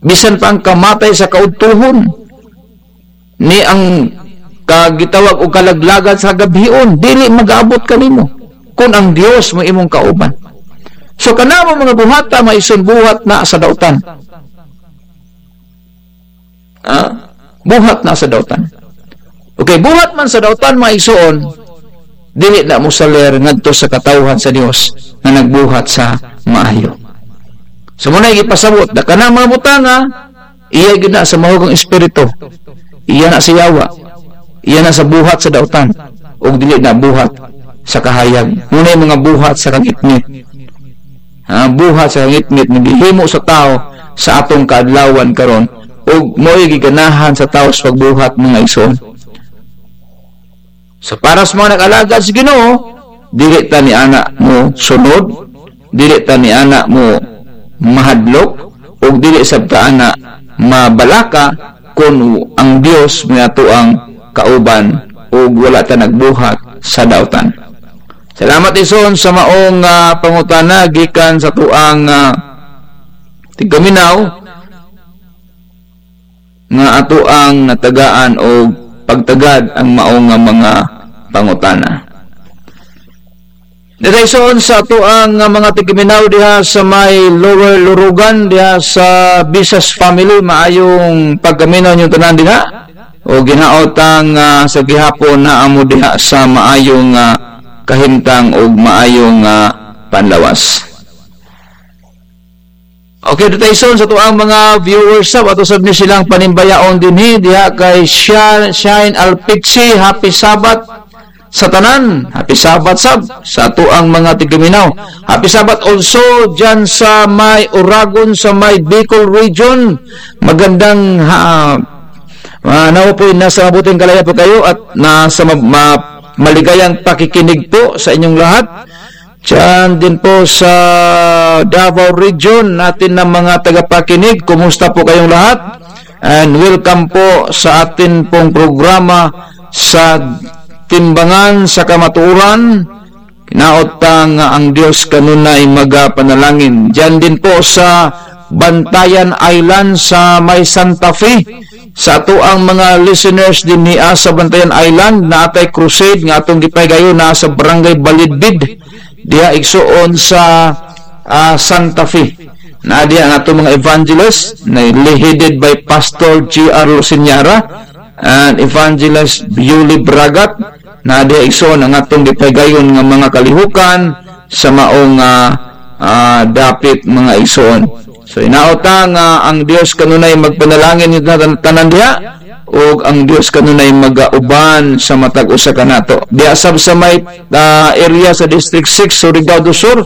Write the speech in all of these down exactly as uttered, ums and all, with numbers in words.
bisan pa ang kamatay sa kaudtohon, ni ang kagitawag o kalaglagan sa gabhion, dili mag-aabot kanimo kun ang Dios mo imong kauban. So, kanamo mga buhata, mga igsoon, buhat na sa daotan. Ah, buhat na sa daotan. Okay, buhat man sa daotan, mga igsoon, dili na mo saler ngadto sa katawhan sa Dios na nagbuhat sa maayo. So, muna ipasabot, na kanang mga butanga, iya gid na sa mahugang espiritu. Iya na sa yawa. Iya na sa buhat sa daotan. Ug dili na buhat sa kahayag. Muna yung mga buhat sa kangitngit. Ha, buhat sa kangitngit na gihimo sa tao sa atong kaadlawan karon. Ug mao'y giganahan sa tao sa pagbuhat, mga igsoon. So, para sa mga nag-alagad sa Ginoo, dili ta ni ana mo sunod, dili ta ni ana mo mahadlok, ug dili sab ta ana mabalaka kun ang Dios may atoang kauban ug wala ta nagbuhat sa daotan. Salamat, igsoon, sa maong, ah, pangutana gikan sa tuang, ah, tigkaminaw nga atoang natagaan o pagtagad ang maong nga mga pangutana. Dito igsoon sa atoang, ah, mga tigkaminaw diha sa may Lower Lurugan, diha sa Bisas family, maayong pagkaminaw niyo tanan diha. O ginaotang, ah, sa gihapon na amo diha sa maayong, ah, kahimtang o maayong, ah, panlawas. Okay, dito igsoon sa tuang mga viewers, sa ato sab ni silang panimbayaon dinhi, diha kay Sha-, Shine Alpixi, happy Sabbath sa tanan. Happy Sabbath sab sa tuang mga tigkaminaw. Happy Sabbath also dyan sa may Oragon, sa may Bicol region. Magandang ha, ah, nawa po'y nasa mabuting kalaya po kayo at nasa ma-, ma-, maligayang pakikinig po sa inyong lahat. Diyan din po sa Davao Region natin na mga tagapakinig, kumusta po kayong lahat? And welcome po sa atin pong programa sa Timbangan sa Kamatuoran. Kinaot ta nga ang Dios kanunay magapanalangin. Diyan din po sa Bantayan Island sa may Santa Fe. Sa ato ang mga listeners din ni sa Bantayan Island, na atay crusade nga atong gipahigayon na sa Barangay Balidbid. Diha igsoon sa, ah, Santa Fe. Na diha ang atong mga evangelist, na headed by Pastor G R Luciñara and Evangelist Yuli Bragat. Na diha igsoon ang atong gipahigayon nga mga kalihukan sa maong, ah, ah, dapit, mga igsoon. So, inaot ta nga ang Dios kanunay magpanalangin nindo tan-, tanan diha, ug ang Dios kanunay magauban sa matag usa kanato. Diha sab sa may, ah, area sa District six, Surigao do Sur,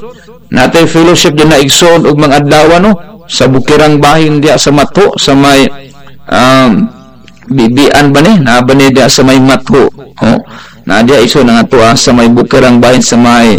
natay fellowship din na igsoon ug mga adlaw, no? Sa Bukirang Bahin diha sa Matho, sa may, um, Bibian ba ni? Na ba ni diha sa may Matho? Oh. Na diha igsoon ang ato, ah, sa may Bukirang Bahin, sa may